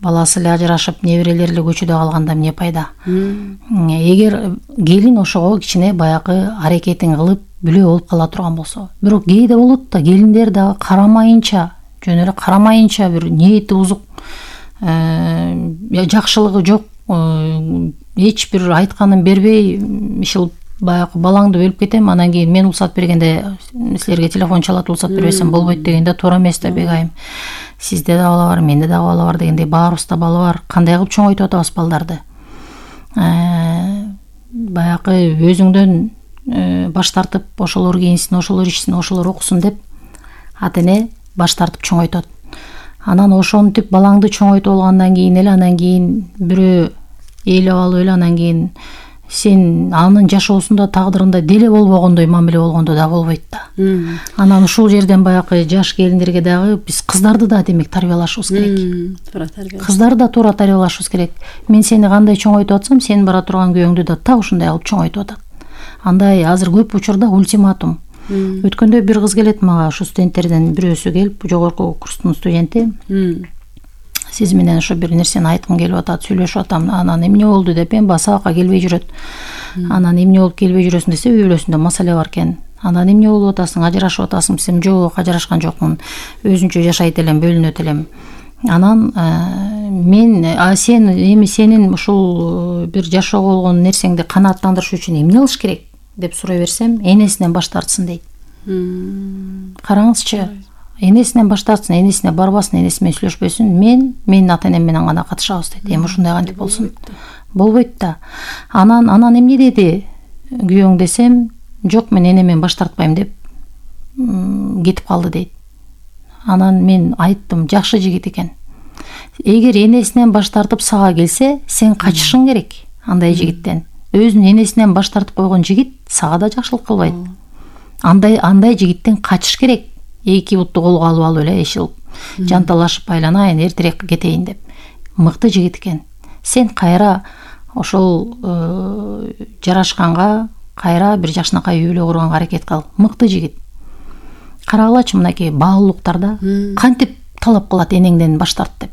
Speaker 14: баласы эле ажырашып, неберелери эле көчөдө калганда эмне пайда? Эгер келин ошого кичине баягы аракетин кылып бүлө болуп кала турган болсо. Бирок кээде болот да, келиндер дагы карамайынча, жөн эле карамайынча бир ниети бузук, жакшылыгы жок, эч бир айтканын бербей, ишил баягы балаңды бөлүп кетем, анан кийин мен уруксат бергенде силерге телефон чалат, уруксат бербесем болбойт дегенде туура эмес да, бегайым. Сизде да бала бар, менде да бала бар дегендей, баарыбызда бала бар. Кандай кылып чоңойтуп атабыз балдарды? Баягы өзүңдөн баш тартып, ошолор кийинсин, ошолор ичсин, ошолор окусун деп ата эне баш тартып чоңойтот. Анан ошентип балаңды чоңойтуп алгандан кийин эле, анан кийин бирөө ээлеп алып эле, анан кийин сен анын жашоосунда, тагдырында деле болбогондой мамиле болгондо да болбойт да. Анан ушул жерден баягы жаш келиндерге дагы биз кыздарды да демек тарбиялашыбыз керек. Кыздарды да туура тарбиялашыбыз керек. Мен сени кандай чоңойтуп атсам, сен бара турган күйөөңдү да так ушундай кылып чоңойтуп атат. Андай азыр көп учурда ультиматум. Өткөндө бир кыз келет мага, ушу студенттерден бирөөсү келип, жогорку курстун студенти. сиз менен ушу бир нерсени айткым келип атат, сүйлөшүп атам, анан эмне болду деп эми сабакка келбей жүрөт. Анан эмне болуп келбей жүрөсүң десе, үй бүлөсүндө маселе бар экен. Анан эмне болуп атасың, ажырашып атасың десем, жок, ажырашкан жокмун, өзүнчө жашайт элем, бөлүнөт элем. Анан сен эми сенин ушул бир жашоого болгон нерсеңди канааттандырыш үчүн эмне кылыш керек деп сурай берсем, энесинен баш тартсын дейт. Караңызчы, энесинен баш тартсын, энесине барбасын, энеси менен сүйлөшпөсүн, менин ата-энем менен гана катышабыз дейт. Эми ушундай кантип болсун? Болбойт да. Анан эмне деди күйөөң десем, жок, мен энемен баш тартпайм деп кетип калды дейт. Анан мен айттым, жакшы жигит экен. Эгер энесинен баш тартып сага келсе, сен качышың керек андай жигиттен. Өзүнүн энесинен баш тартып койгон жигит сага да жакшылык кылбайт. Андай жигиттен качыш керек. Эки бутту колго алып алып эле эшилип, жанталашып айланайын, эртерээк кетейин деп. Мыкты жигит экен. Сен кайра ошол жарашканга кайра бир жакшынакай үй бүлө курганга аракет кыл. Мыкты жигит. Карагылачы, мынакей баалуулуктарда кантип талап кылат энеңден баш тарт деп.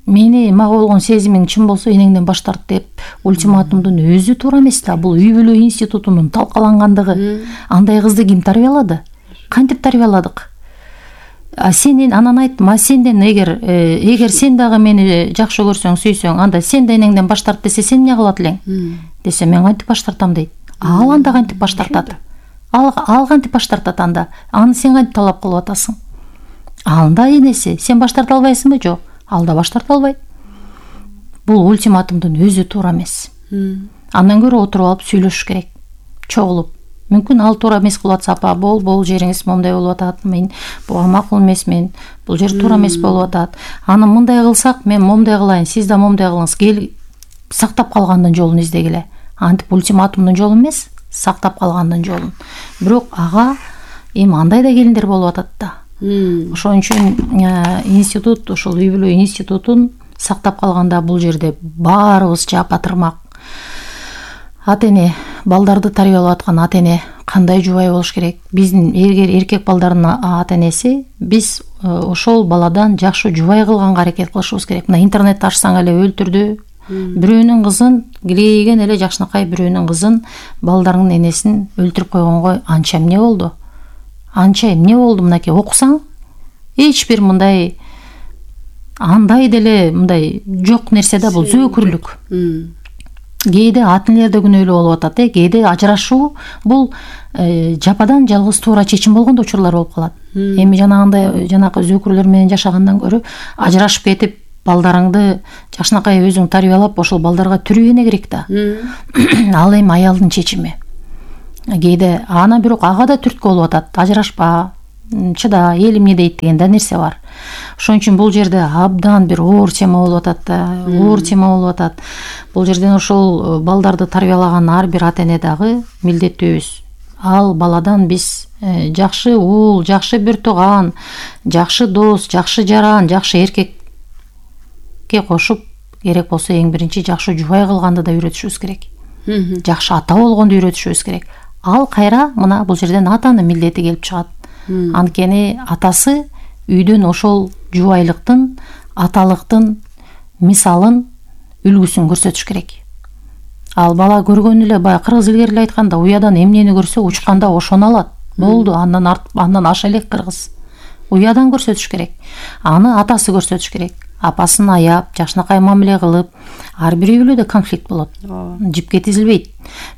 Speaker 14: Мага болгон сезимиң чын болсо, энеңден баш тарт деп ультиматумдун өзү туура эмес да. Бул үй бүлө институтунун талкалангандыгы. Андай кызды ким тарбиялады? Кантип тарбияладык? Анан айттым, сенден эгер сен дагы мени жакшы көрсөң, сүйсөң, анда сен да энеңден баш тарт десе, сен эмне кылат элең? Десе, мен кантип баш тартам дейт. Ал анда кантип баш тартат? Ал кантип баш тартат анда? Аны сен кантип талап кылып атасың? Анда энеси, сен баш тарта албайсыңбы? Жок, ал да баш тарта албайт. Бул ультиматумдун өзү туура эмес. Андан көрө отуруп алып сүйлөшүш керек, чогулуп. Мүмкүн ал туура эмес кылып атса, апа, бул жериңиз момундай болуп атат, мен буга макул эмесмин, бул жер туура эмес болуп атат. Аны мындай кылсак, мен момундай кылайын, сиз да момундай кылыңыз. Кел, сактап калгандын жолун издегиле. Антип ультиматумдун жолу эмес, сактап калгандын жолун. Бирок ага эми андай да келиндер болуп атат да. Ошон үчүн институт, ушул үй бүлө институтун сактап калганда бул жерде баарыбыз жапатырмак. Ата-эне, балдарды тарбиялап аткан ата-эне кандай жубай болуш керек? Биздин эркек балдардын ата-энеси биз ошол баладан жакшы жубай кылганга аракет кылышыбыз керек. Мына интернетти ачсаң эле өлтүрдү. Бирөөнүн кызын, килейген эле жакшынакай бирөөнүн кызын, балдарынын энесин өлтүрүп койгонго анча эмне болду? Мынакей окусаң, эч бир мындай андай деле мындай жок нерсе да, бул зөөкүрлүк. Кээде ата-энелер да күнөөлүү болуп атат, кээде ажырашуу бул жападан жалгыз туура чечим болгон учурлар болуп калат. Эми жанагы зөөкүрлөр менен жашагандан көрө ажырашып кетип, балдарыңды жакшынакай өзүң тарбиялап, ошол балдарга түрүгөнө керек да. Ал эми аялдын чечими. Кээде анан бирок ага да түрткү болуп атат. Ажырашпа, чыда, эл эмне дейт деген да нерсе бар. Ошон үчүн бул жерде абдан бир оор тема болуп атат да, оор тема болуп атат. Бул жерден ошол балдарды тарбиялаган ар бир ата-эне дагы милдеттүүбүз. Ал баладан биз жакшы уул, жакшы бир тууган, жакшы дос, жакшы жаран, жакшы эркекке кошуп, керек болсо эң биринчи жакшы жубай кылганды да үйрөтүшүбүз керек. Жакшы ата болгонду үйрөтүшүбүз керек. Ал кайра мына бул жерден атанын милдети келип чыгат. Анткени атасы үйдөн ошол жубайлыктын, аталыктын мисалын, үлгүсүн көрсөтүш керек. Ал бала көргөн эле, баягы кыргыз илгери айтканда, уядан эмнени көрсө учканда ошону алат. Болду, андан аша элек кыргыз. Уядан көрсөтүш керек. Аны атасы көрсөтүш керек. Апасын аяп, жакшынакай мамиле кылып, ар бир үй бүлөдө конфликт болот. Жипке тизилбейт.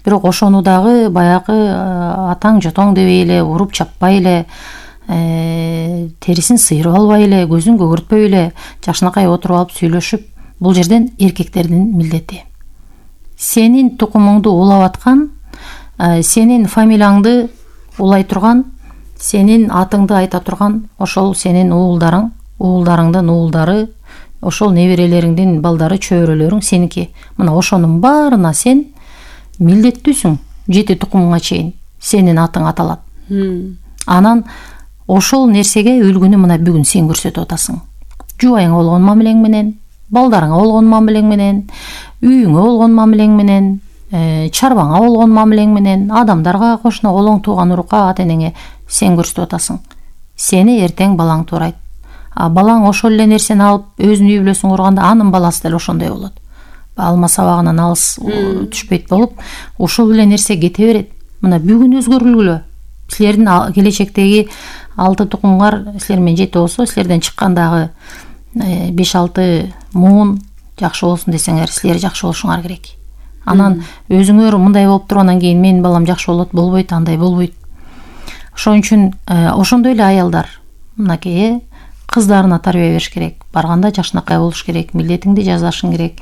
Speaker 14: Бирок ошону дагы баягы атаң жотоң дебей эле, уруп чаппай эле, терисин сыйрып албай эле, көзүн көгөртпөй эле, жакшынакай отуруп алып сүйлөшүп, бул жерден эркектердин милдети. Сенин тукумуңду улап аткан, сенин фамилияңды улай турган, сенин атыңды айта турган ошол сенин уулдарың, уулдарыңдын уулдары, ошол неберелериңдин балдары, чөбөрөлөрүң сеники. Мына ошонун баарына сен милдеттүүсүң, 7 тукумуңа чейин сенин атың аталат. Анан ошол нерсеге үлгүнү мына бүгүн сен көрсөтүп атасың. Жубайыңа болгон мамилең менен, балдарыңа болгон мамилең менен, үйүңө болгон мамилең менен, чарбаңа болгон мамилең менен, адамдарга, кошуна, колоң, тууган урукка, ата-энеңе сен көрсөтүп атасың. Сени эртең балаң туурайт. балаң ошол эле нерсени алып өзүнүн үй бүлөсүн курганда анын баласы деле ошондой болот. Алма сабагынан алыс түшпөйт болуп, ушул эле нерсе кете берет. Мына бүгүн өзгөрүлгүлө. Силердин келечектеги 6 тукумгар силер менен жети болсо, силерден чыккандагы 5-6 муун жакшы болсун десеңер, силер жакшы болушуңар керек. Анан өзүңөр мындай болуп туруп, анан кийин менин балам жакшы болот, болбойт, андай болбойт. Ошон үчүн ошондой эле аялдар мынакей кыздарына тарбия бериш керек. Барганда жакшынакай болуш керек, милдетиңди жазашың керек.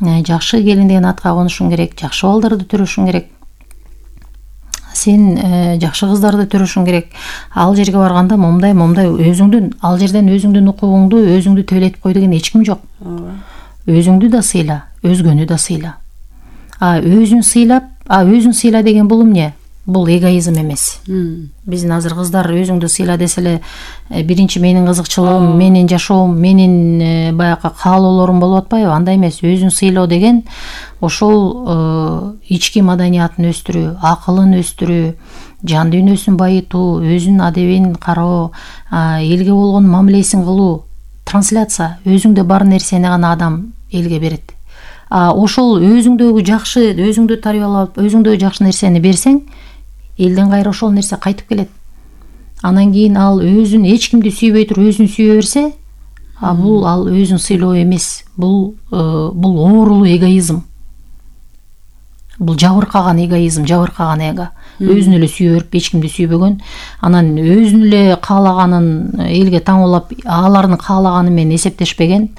Speaker 14: Жакшы келин деген атка конушуң керек, жакшы балдарды төрөшүң керек. Сен жакшы кыздарды төрөшүң керек. Ал жерге барганда момдай өзүңдүн, ал жерден өзүңдүн укугуңду өзүңдү төлөтүп кой деген эч ким жок. Өзүңдү да сыйла, өзгөнү да сыйла. Өзүн сыйла деген бул эмне? Бул эгоизм эмес. Биздин азыр кыздар өзүңдү сыйла деселе, биринчи менин кызыкчылыгым, менин жашоом, менин баягы каалоолорум болуп атпайбы? Андай эмес. Өзүн сыйлоо деген ошол ички маданиятын өстүрүү, акылын өстүрүү, жан дүйнөсүн байытуу, өзүнүн адебин кароо, элге болгон мамилесин кылуу, трансляция. Өзүңдө бар нерсени гана адам элге берет. Ошол өзүңдөгү жакшы, өзүңдү тарбиялап, өзүңдөгү жакшы нерсени берсең, элден кайра ошол нерсе кайтып келет. Анан кийин ал өзүн эч кимди сүйбөй туруп өзүн сүйө берсе, бул ал өзүн сыйлоо эмес. Бул оорулуу эгоизм. Бул жабыркаган эгоизм, жабыркаган эго. Өзүн эле сүйө берип, эч кимди сүйбөгөн, анан өзүн эле каалаганын элге таңуулап, алардын каалаганы менен эсептешпеген,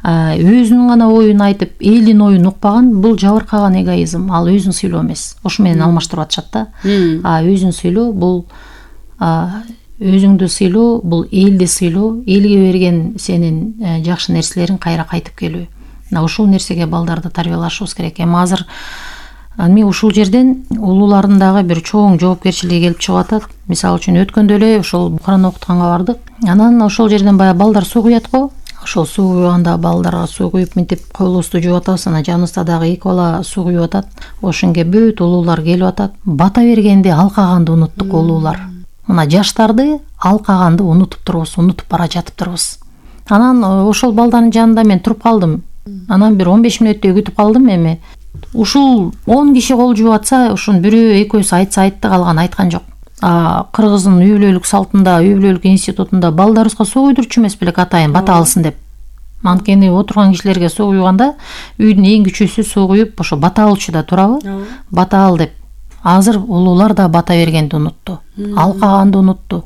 Speaker 14: өзүнүн гана оюн айтып, элдин оюн укпаган, бул жабыркаган эгоизм. Ал өзүн сыйлоо эмес. Ошо менен алмаштырып атышат да. Өзүн сыйлоо бул өзүңдү сыйлоо, бул элди сыйлоо, элге берген сенин жакшы нерселериң кайра кайтып келүү. Ушул нерсеге балдарды тарбиялашыбыз керек. Азыр ушул жерден улуулардын дагы бир чоң жоопкерчилиги келип чыгып атат. Мисалы үчүн өткөндө эле ошол Куран окутканга бардык. Анан ошол жерден баягы балдар суу куят го. Ошол суу куйганда балдарга суу куюп мынтип колубузду жууп атабыз. Анан жаныбызда дагы 2 бала суу куюп атат. Ошонго бүт улуулар келип атат. Бата бергенди алкаганды унуттук улуулар. Мына жаштарды алкаганды унутуп турубуз, унутуп бара жатыптырбыз. Анан ошол балдардын жанында мен туруп калдым. Анан бир 15 мүнөттөй күтүп калдым. Эми ушул 10 киши кол жууп атса, ошонун бирөө экөөсү айтса айтты, калган айткан жок. Кыргыздын үй бүлөлүк салтында, үй бүлөлүк институтунда балдарыбызга суу куйдурчу эмес белек атайын бата алсын деп. Анткени отурган кишилерге суу куйганда үйдүн эң күчүүсү суу куюп ошо бата алчу да турабы? Бата ал деп. Азыр улуулар да бата бергенди унутту, алкаганды унутту.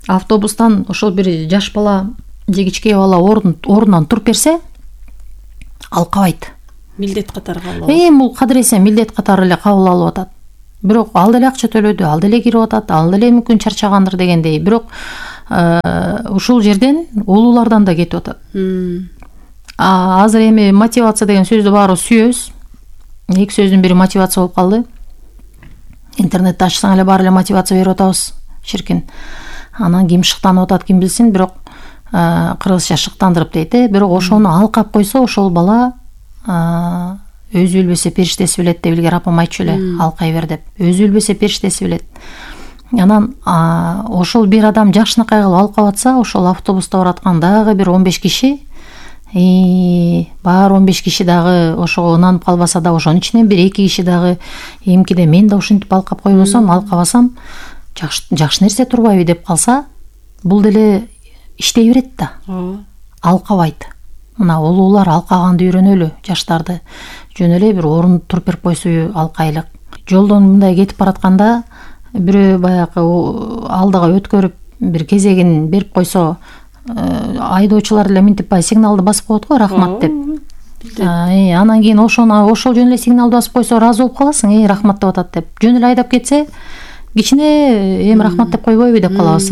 Speaker 14: Автобустан ошол бир жаш бала же кичке бала ордунан туруп берсе, алкабайт.
Speaker 2: Милдет катары кабыл алат.
Speaker 14: Бул кадыресе милдет катары эле кабыл алып атат. Бирок ал деле акча төлөдү, ал деле кирип атат, ал деле мүмкүн чарчагандыр дегендей. Бирок ушул жерден улуулардан да кетип атат. Азыр эми мотивация деген сөздү баарыбыз сүйөбүз. 2 сөздүн бири мотивация болуп калды. Интернетти ачсаң эле баары эле мотивация берип атабыз, ширкин. Анан ким шыктанып атат, ким билсин, бирок кыргызча шыктандырып дейт. Бирок ошону алкап койсо, ошол бала өзү билбесе периштеси билет деп илгери апам айтчу эле, алкай бер деп. Өзү билбесе периштеси билет. Анан ошол бир адам жакшынакай кылып алкап атса, ошол автобуста бараткан дагы бир 15 киши, баары 15 киши дагы ошого ынанып калбаса да, ошонун ичинен бир 2 киши дагы эмкиде мен да ушинтип алкап койбосом, алкабасам жакшы нерсе турбайбы деп калса, бул деле иштей берет да. Алкабайт. Мына улуулар алкаганды үйрөнөлү, жаштарды. Жөн эле бир орун туруп берип койсо алкайлык. Жолдон мындай кетип баратканда бирөө баягы алдыга өткөрүп бир кезегин берип койсо, айдоочулар эле мынтип сигналды басып коет го, рахмат деп. Анан кийин ошол жөн эле сигналды басып койсо ыраазы болуп каласың, рахмат деп атат деп. Жөн эле айдап кетсе, кичине эми рахмат деп койбойбу деп калабыз.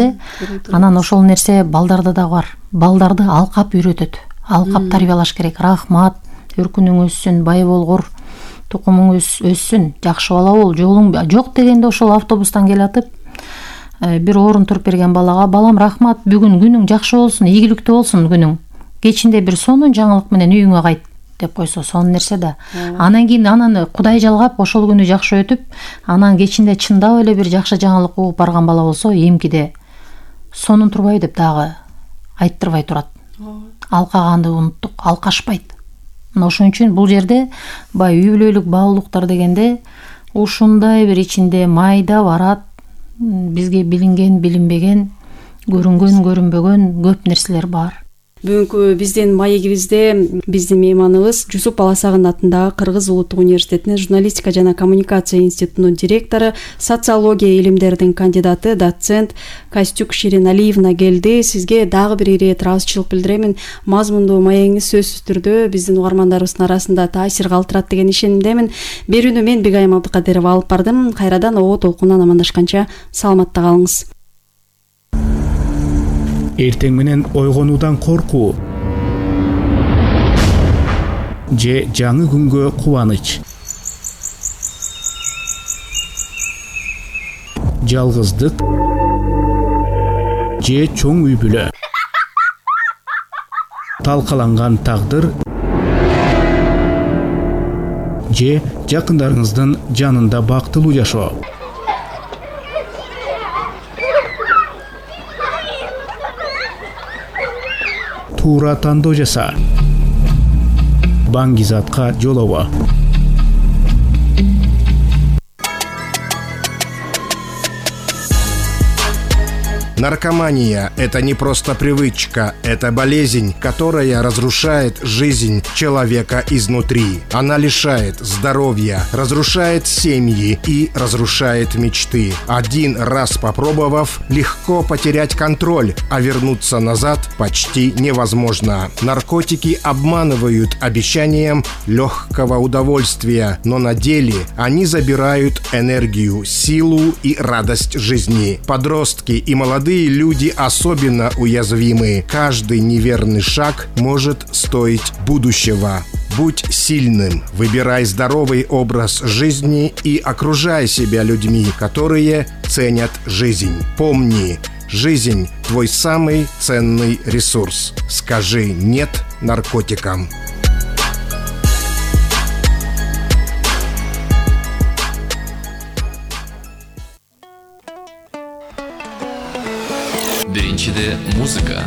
Speaker 14: Анан ошол нерсе балдарда да бар. Балдарды алкап үйрөтөт. Алкап тарбиялаш керек. Рахмат, өркүнүң өссүн, бай болгур, тукумуң өссүн, жакшы бала бол, жолуң жок дегенде ошол автобустан келатып, бир орун туруп берген балага, балам рахмат, бүгүн күнүң жакшы болсун, ийгиликтүү болсун күнүң. Кечинде бир сонун жаңылык менен үйүңө кайт деп койсо, сонун нерсе да. Анан кийин Кудай жалгап ошол күнү жакшы өтүп, анан кечинде чындап эле бир жакшы жаңылык угуп барган бала болсо, эмкиде сонун турбайбы деп дагы айттырбай турат. Алкаганды унуттук, алкашпайт. Мына ошон үчүн бул жерде баягы үй бүлөлүк баалуулуктар дегенде ушундай бир ичинде майда барат, бизге билинген, билинбеген, көрүнгөн, көрүнбөгөн көп нерселер бар.
Speaker 2: Бүгүнкү биздин маегибизде биздин мейманыбыз Жусуп Баласагын атындагы Кыргыз Улуттук университетинин журналистика жана коммуникация институтунун директору, социология илимдеринин кандидаты, доцент Костюк Шириналиевна келди. Сизге дагы бир ирет ыраазычылык билдиремин. Мазмундуу маегиңиз сөзсүз түрдө биздин угармандарыбыздын арасында таасир калтырат деген ишенимдемин. Берүүнү мен Бегайым Абдыкадырова алып бардым. Кайрадан оо толкундан амандашканча саламатта калыңыз.
Speaker 13: Эртең менен ойгонуудан коркуу же жаңы күнгө кубаныч, жалгыздык же чоң үй бүлө, талкаланган тагдыр же жакындарыңыздын жанында бактылуу жашоо. Туура тандоо жаса. Баңгизатка жолобо.
Speaker 15: Наркомания – это не просто привычка, это болезнь, которая разрушает жизнь человека изнутри. Она лишает здоровья, разрушает семьи и разрушает мечты. Один раз попробовав, легко потерять контроль, а вернуться назад почти невозможно. Наркотики обманывают обещанием легкого удовольствия, но на деле они забирают энергию, силу и радость жизни. Подростки и молодые люди особенно уязвимы. Каждый неверный шаг может стоить будущего. Будь сильным, выбирай здоровый образ жизни и окружай себя людьми, которые ценят жизнь. Помни, жизнь – твой самый ценный ресурс. Скажи «нет» наркотикам.
Speaker 9: Биринчиде музыка.